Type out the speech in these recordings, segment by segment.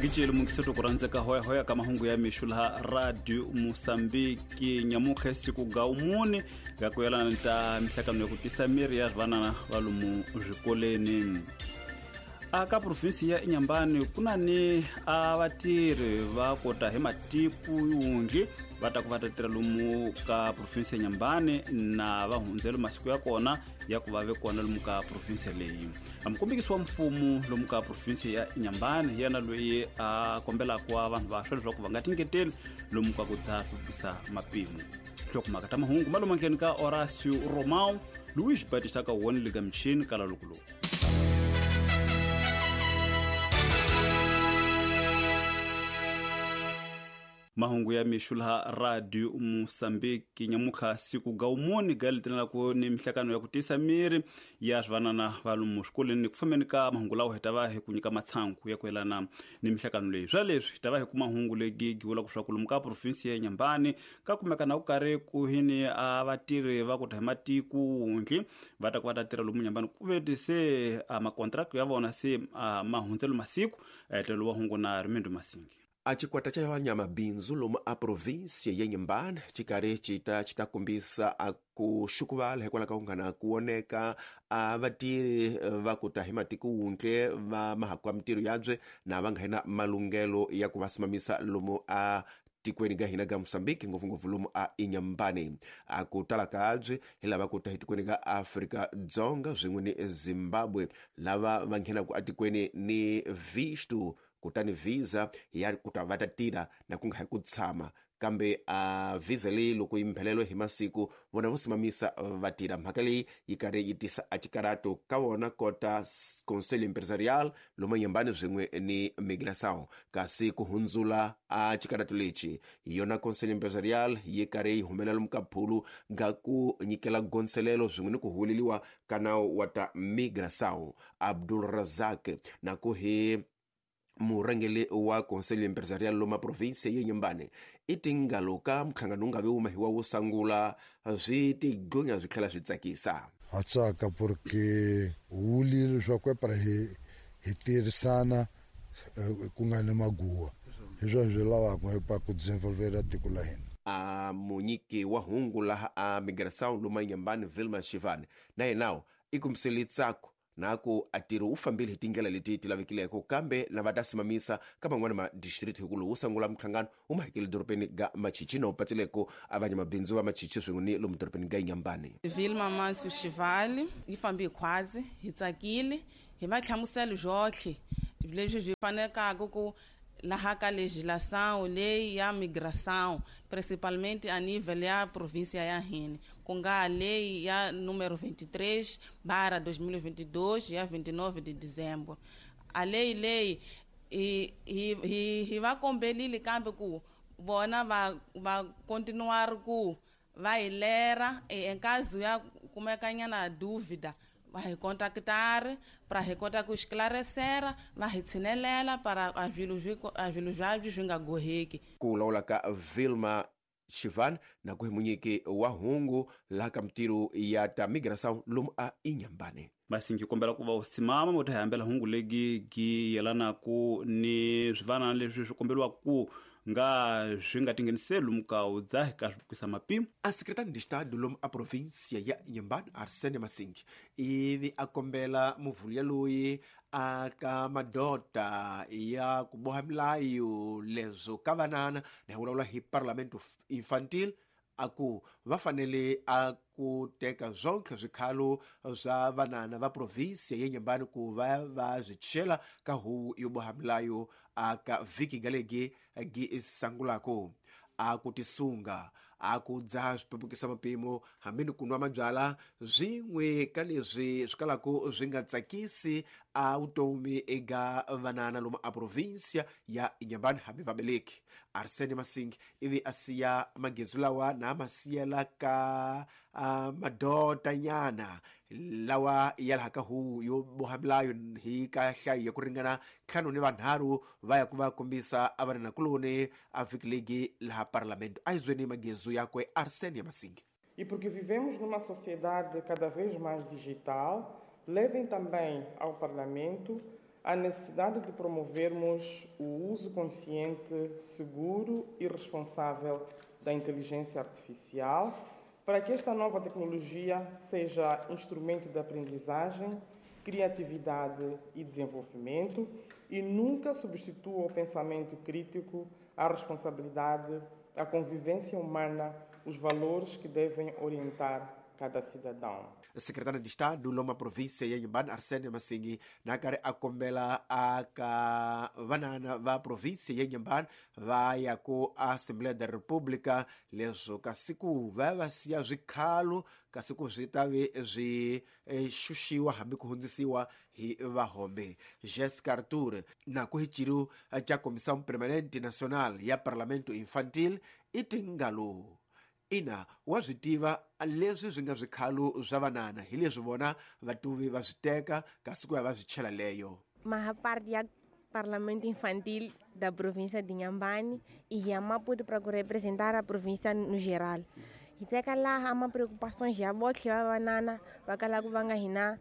Gicele mungiseto ku rhandzeka hoyahoya ka mahungu ya mixo laha Radio Mosambiki nyamutlha siku ga umune ga ku yelana ta mihlakano ya ku tisa miri ya swivanana va lomu swikoleni. Aka provinsi ya Inhambane ku na ni a vatirhi va kota hi matiko yundli va ta ku va ta tirha lomu ka provinsi ya Inhambane na va hundzelo masiku ya kona ya ku va ve kona lomu ka provinsi leyi. Mukombekisi wa mfumo lomu ka provinsi ya Inhambane hi yena loyi a kombelaka wa vanhu vantshwa leswaku va nga tingeteli lomu ka ku dzaha swi mapimo. Nhlokomhaka ta mahungu ma lomu ndleni ka Horacio Romão Luiz Batista ka wona le ka michini kala loko lowu. Mahungu ya mixo laha Radio Mosambiki nyamutlha siku ga umuni ga letelelaka ni mihlakano ya ku tiyisa miri ya swivanana va lomu swikolweni. Ku fambeni ka mahungu lawa hi ta va hi ku nyika matshangu ya ku yelana ni mihlakano leyi. Swa leswi hi ta va hi kuma hungu legi vulaka swa ku lomu ka provinsi ya Inhambane ka kumeka na ku karhi ku hini a vatirhi va ku ta hi matiko wundli va ta ku va ta tirha lomu Inhambane ku veti se a makontrakt ya vona se ma hundzelo masiku tlhelo wa hungu na Rimindo Masingi. A chikwata cha vanyamabindzu lomu a provinsia ya Inhambane chikari chita chitakumbisa a ku xukuvala hikwalaho ka ku nga ku oneka a vatirhi va ku ta hi matiko wundle va mahakwa mintirho yabye na va nga na malunghelo ya ku va simamisa lomu a tikweni ga hina ga Mosambiki ngopfungopfu lomu a Inhambane. A ku tala kabye hi lava ku ta hi tikweni ga Afrika Dzonga swin'we ni Zimbabwe lava va nghenaka atikweni ni visto kutani visa ya ku ta va ta tirha na ku nga hi ku tshama kambe a visa leyi loko yi mphelelo hi masiku vona vo simamisa va tirha. Mhaka leyi yi karhi yi tisa a xikarato ka vona kota Conselho Empresarial lomu Inhambane swin'we ni Migração, kasi ku hundzula a xikarato lexi hi yona Conselho Empresarial yi karhi yi humelela lomu ka phulu ga ku nyikela gonselelo swin'we ni ku huweleliwa ka nawu wa ta Migração. Abdul Razak na ku hi murhangeri wa Conselho Empresarial loma provinsia ya Inhambane i tingalo ka mhlangano wu nga ve wuma hi wa wo sungula swi tigonya swi tlhela swi tsakisa. Ha tsaka porque wulile leswaku para hi tirhisana ku nga ni maguwa hi swona swi lavaka pa ku desenvolver tiko la hina. A munyiki wa hungu laha a Migração loma Inhambane Vilma Shivane na yenawo i kumbisele tsako na ku atirho wu fambile hi tindlela leti ti lavekileko kambe na va ta simamisa ka man'wana ma district hi ku lowu sungula mhlangano wu mahekele dorobeni ga Machichi na wu patsileko a vanyamabindzu va Machichi swin'we ni lomu dorobeni ga Inhambane. Vilma Mansu Shivali yi fambe hi khwazi hi tsakile hi va hlamusela byotlhe leswi byi fanelaka ku laha ka legislação leyi ya migração principalmente a nível ya província ya hina ku nga lei ya número 23/2022 ya 29 de dezembro. A lei leyi hi va kombelile kambe ku vona va continuar ku va hi lera em caso ya kumekanyana dúvida va hi contactar para hi kota ku esclarecer va hi tshinelela para a swilo swabyo swi nga goheki. Ku lawula ka Vilma Shivan na ku hi munyiki wa hungu laha ka mintirho ya ta migração lomu a Inhambane. Masingi kombela ku va u simama mo ta hi hambela hungu legi gi yelanaku ni swivanana leswi swi kombeliwaka ku nga swi nga tingheniseli lomu ka u dzahi ka swivukisa mapimo. A secretário de Estado lomu a província ya Inhambane Arsene Masingi ivi a kombela muvhulu loyi a ka madota ya ku boha milayo leswo ka vanana na hi vulavula hi Parlamento Infantil a ku va fanele a ku teka swonke swikhalo swa vanana va provinsia ya Inhambane ku va va swi chela ka huvo yo boha milayo a ka vhiki galegi gi sangulako. A ku tisunga a ku dzaha swipepukisa mapimo hambi ni ku nwa mabyala swin'we ka leswi swi kalaka swi nga tsakisi a vutomi eka vanana lomu a provinsia ya Inhambane hambi vabeleki. Arsene Masingi ivi a siya magezu lawa na ma siyela ka madotanyana lawa ya laha ka huvo yo boha milayo hi ka nhlayo ya ku ringana 5 ni vanharhu va ya ku va kombisa a vananakuloni a vhiki legi laha parlamento. A hi zweni magezu yakwe Arsene Masingi. E porque vivemos numa sociedade cada vez mais digital, levem também ao Parlamento a necessidade de promovermos o uso consciente, seguro e responsável da inteligência artificial para que esta nova tecnologia seja instrumento de aprendizagem, criatividade e desenvolvimento e nunca substitua o pensamento crítico, a responsabilidade, a convivência humana, os valores que devem orientar cada cidadão. Secretário de Estado loma província ya Inhambane Arsênio Massingi nakari a kombela aka vanana va província ya Inhambane va ya ku Assembleia da República leswo kasi ku va va siya swikhalo kasi ku swi ta ve swi xuxiwa hambi ku hundzisiwa hi vahombe. Jessica Arthur na ku hi ciru ca Comissão Permanente Nacional ya Parlamento Infantil i tingalo ina wa swi tiva leswi swi nga swikhalo swa vanana hi leswi vona vatuvi va swi teka kasi ku ya va swi chela leyo. Maha parte ya Parlamento Infantil da província de Inhambane e a Maputo para representar a província no geral. E teka lá há uma preocupação já botlhe va vanana va kala ku va nga hina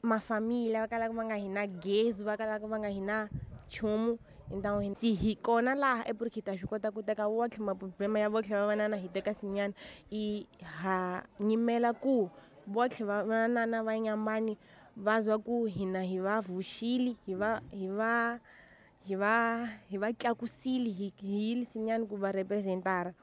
mafamília, va kala ku va nga hina gezi, va kala ku va nga hina nchumu. Então se hi kona laha é porque ta swi kota ku teka wotlhe maproblema ya votlhe va vanana hi teka sinyana i ha nyimela ku votlhe va vanana va Inhambane va zwa ku hina hi va vuxile hi va hi va hi va hi va tlakusile hi yile sinyana ku va representara.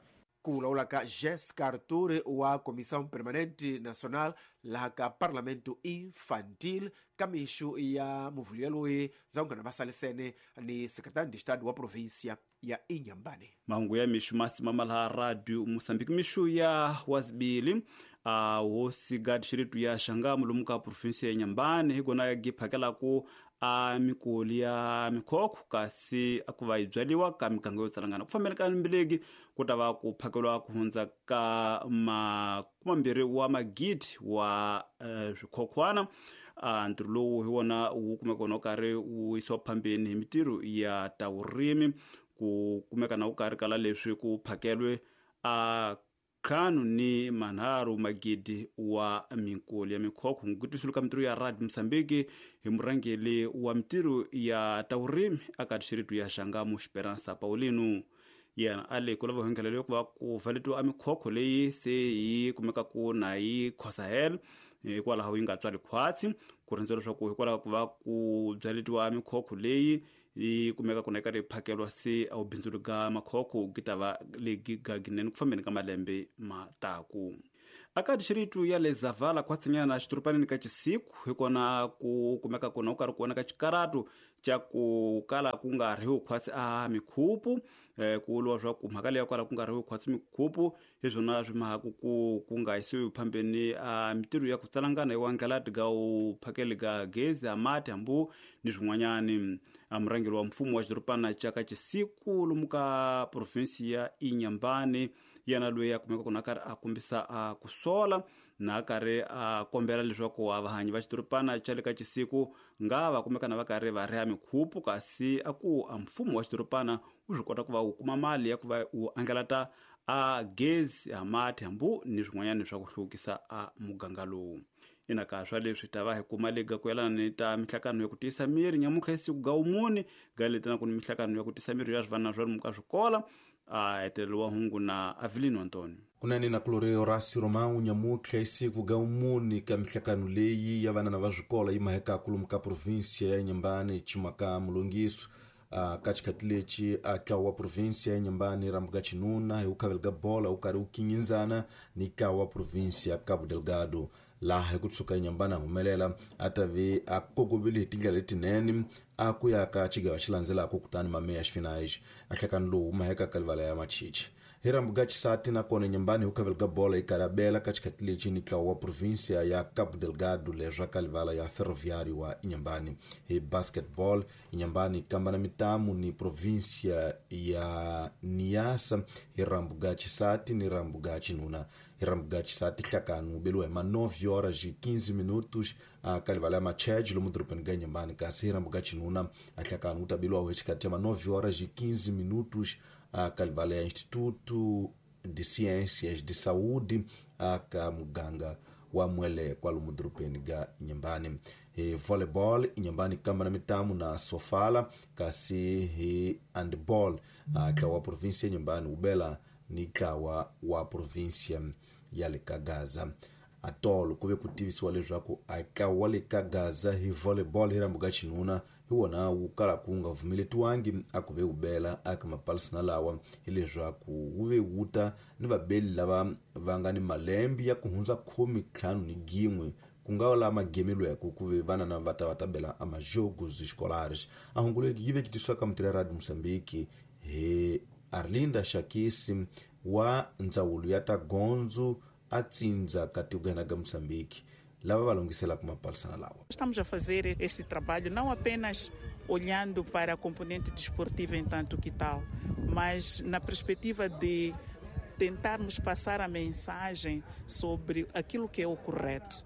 Ku vulavula ka Jessica Arthur wa Comissão Permanente Nacional laha ka Parlamento Infantil ka mixo ya muvhulu yaloyi ndza ku nghana va salisene ni secretário de Estado wa província ya Inhambane. Mahungu ya mixo ma simama laha Radio Moçambique mixo ya wazibili a hosi gadi xiritu ya Xangamu lomu ka província ya Inhambane hi kona gi phakelaku a mikoli ya mikhokho kasi a ku va yi byaliwa ka miganga yo tsalangana ku fambeni ka mbileki ku ta va ku phakeliwa ku hundza ka 20 wa magidi wa swikhokhwana. Ntirho lowu hi wona wu kumeka wona wu karhi wu yisiwa phambeni hi mitirho ya ta vurimi ku kumeka na wu karhi kala leswi ku phakelwe a 53 magidi wa minkoli ya mikhokho. Ngutwisulu ka mitirho ya Radio Moçambique hi murhangeri wa mitirho ya ta vurimi aka xiritu ya Xangamu Esperança Paulino yena a le ku lava henghelelo ku va ku valetiwa a mikhokho leyi se yi kumeka ku na yi khosahela hikwalaho yi nga tswali khwatsi ku rindzela leswaku hikwalaho ku va ku byaletiwa mikhokho leyi yi kumeka ku na yi karhi yi phakelwa se a wu bindzulu ga makhokho gi ta va legi gaginene ku fambeni ka malembe ma taku. Aka dixiritu ya le Zavala khwatsinyana xiturupanini ka Chisiku hi kona ku kumeka kona ku karhi ku vonaka xikaratu xa ku kala ku nga ri khwatsi a mikhupu ku vuriwa swa ku mhaka leyi ya ku kala ku nga ri khwatsi mikhupu hi swona swi mahaku ku nga yisiwi phambeni a mitirho ya ku tsalangana hi wandlalati ga u phakeli ga gezi a mati hambu ni swin'wanyani. A murhangeri wa mfumo wa xidorobana xa ka Chisiku lomu ka provinsi ya Inhambane yena loyi a kumeka kona a karhi a kombisa a ku sola na a karhi a kombela leswaku a vahanyi va xidorobana xa le ka Chisiku nga va kumeka na va karhi va riha mikhupu kasi a ku a mfumo wa xidorobana wu swi kota ku va wu kuma mali ya ku va wu angalata a gezi a mati hambu ni swin'wanyana swa ku hluvukisa a muganga lowu. Ina ka swa leswi ta va hi kuma lega ku yelana ni ta mihlakano ya ku tiyisa miri nyamutlha hi siku ga wumune ga leti na ku ni mihlakano ya ku tiyisa miri ya swivanana swa lomu ka swikola a hetelelo wa hungu na Avelino Antonio. Kunene na kulore Horácio Romão nyamutlha hi siku ga wumune ka mihlakano leyi ya vanana va swikola yi mahekaku lomu ka província ya Inhambane chimaka mulongiso ka xikhathi lexi a tlawa wa província ya Inhambane rambuka xinuna hi ku khavela ka bola wu karhi wu kingindzana ni tlawa wa província ya Cabo Delgado laha hi ku tshuka Inhambane a humelela a ta ve a kokovile hi tindlela letinene a ku ya ka xigava xi landzelaka kutani mameya xifinaj a hlekani lowu maheka ka livala ya machichi hi rambuka xisati nakona Inhambane hi ku khavela ka bola yi karhi a bela ka xikhathi lexi ni tlawa wa província ya Cabo Delgado leswa ka livala ya Ferroviário wa Inhambane. Hi basketball Inhambane yi kambana mitamu ni província ya Niassa hi rambuka xisati ni rambuka xinuna. Hi rambuka xisati hlakani wu beliwa hi ma 9 horas e 15 minutos a ka livala ya Machege lomu dorobeni ka Inhambane kasi hi rambuka xinuna a hlakani wu ta beliwa hi xikhathi xa ma 9 horas e 15 minutos a ka livala ya Instituto de Ciências de Saúde a ka muganga wa Mwele kwalomu dorobeni ga Inhambane. Hi volleyball Inhambane kamba na mitamu na Sofala, kasi hi handball ntlawa wa província ya Inhambane wu bela ni ntlawa wa província ya le ka Gaza. Atolo ku ve ku tivisiwa leswaku a ntlawa wa le ka Gaza hi volleyball hi rambu ka xinuna hi wona wu kalaka wu nga vumeletiwangi a ku ve wu bela aka mapalisana lawa, hileswaku wu ve wu ta ni vabeli lava va nga ni malembe ya ku hundza 51 ku nga lama gemeliweke ku ve vanana va ta va ta bela a majogos escolares. A hungu leyi yi veketisiwa ka mutirhi ya Radio Mozambique hi Arlinda Shakisi wa ndzawulo ya ta gondzo a tsindza ka tigana ga Mozambique lava va lunghiselaka mapalisana lawa. Estamos a fazer este trabalho não apenas olhando para a componente desportiva em tanto que tal, mas na perspectiva de tentarmos passar a mensagem sobre aquilo que é o correto.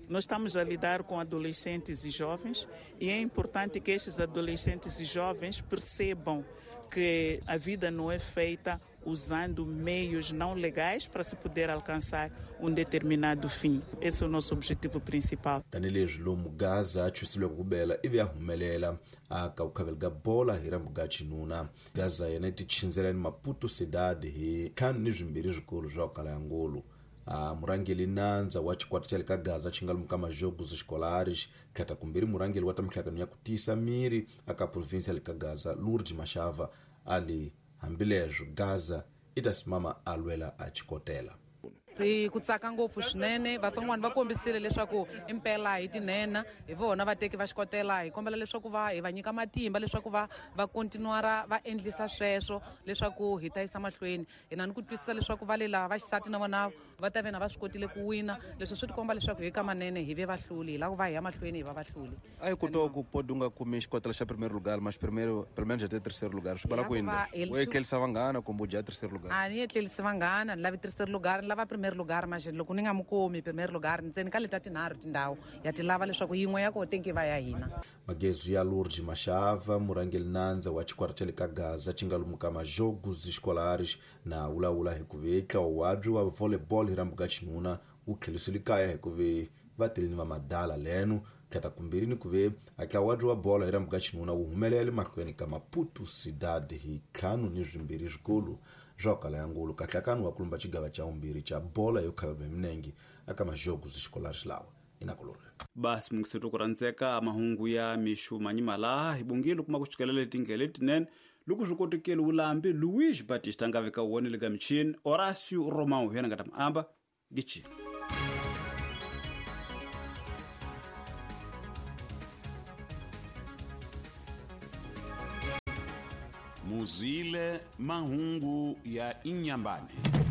Nós estamos a lidar com adolescentes e jovens e é importante que estes adolescentes e jovens percebam que a vida não é feita usando meios não legais para se poder alcançar um determinado fim. Esse é o nosso objetivo principal. Tanihileswi lomu Gaza a chusilweke ku bela ivi a humelela aka ku khavela ka bola hi rambu ga xinuna. Gaza yena yi tichindzela ni Maputo Cidade hi 5-2 swikolo swa ku kala ya ngolo. Murhangeri nandza wa xikwata xa le ka Gaza xi nga lomu ka majogos escolares khata kumbirhi murhangeri wa ta mihlangano ya ku tiyisa miri aka província ya le ka Gaza Lourdes Mashava ali hambileswo Gaza i ta simama a lwela a xikotela. Ku tsaka ngopfu swinene, vatsongwana va kombisile leswaku impela hi tinhena hi vona vateki va xikotela. Hi kombela leswaku va hi va nyika matimba leswaku va continuara va endlisa sweswo leswaku hi ta yisa mahlweni. Hi na ni ku twisisa leswaku va le lava va xisati na vona va ta ve na va swi kotile ku wina. Leswi swi tikomba leswaku hi ka manene hi ve vahluli, hi lava ku va hi ya mahlweni hi va vahluli. A hi kota ku pode u nga kumi xikotela xa primeiro lugar, mas primeiro pelo menos até terceiro lugar. Swi vula ku yini? U etlerisa vanghana kumbe u dya terceiro lugar? A ni etlerisi vanghana, ni lavi terceiro lugar, ni lava primeiro lugar, mas loko ni nga mu kumi primeiro lugar ntsena ka leta tinharhu tindhawu ya ti lava leswaku yin'we ya koho tenki va ya hina. Magezu ya Lourdes Mashava murhangeri nandza wa xikwata xa le ka Gaza xi nga lomu ka majogos escolares na vulavula hi ku ve ntlawa wabyi wa volleyball hi rambu ka xinuna wu tlherisile kaya hi ku ve va teleni va madala leno khata kumbirhi ni ku ve ntlawa wabyi wa bolo hi rambu ka xinuna wu humelela mahlweni ka Maputo Cidade hi 5-2 swikolo swa ku kala ya ngolo. Kahlakano wa kulumba xigava xa vumbirhi xa bola yo khavela hi milenge aka majogos escolares lawa inakulori. Basi mungiseto ku rhandzeka mahungu ya mixu manyimala hi bongile kuma ku xikelela letindlela letinene loko swi kotekile wulambi Luis Batista nga veka wona le ka michini Horacio Romão hi yena nga ta amba gichi. Muzwile mahungu ya Inhambane.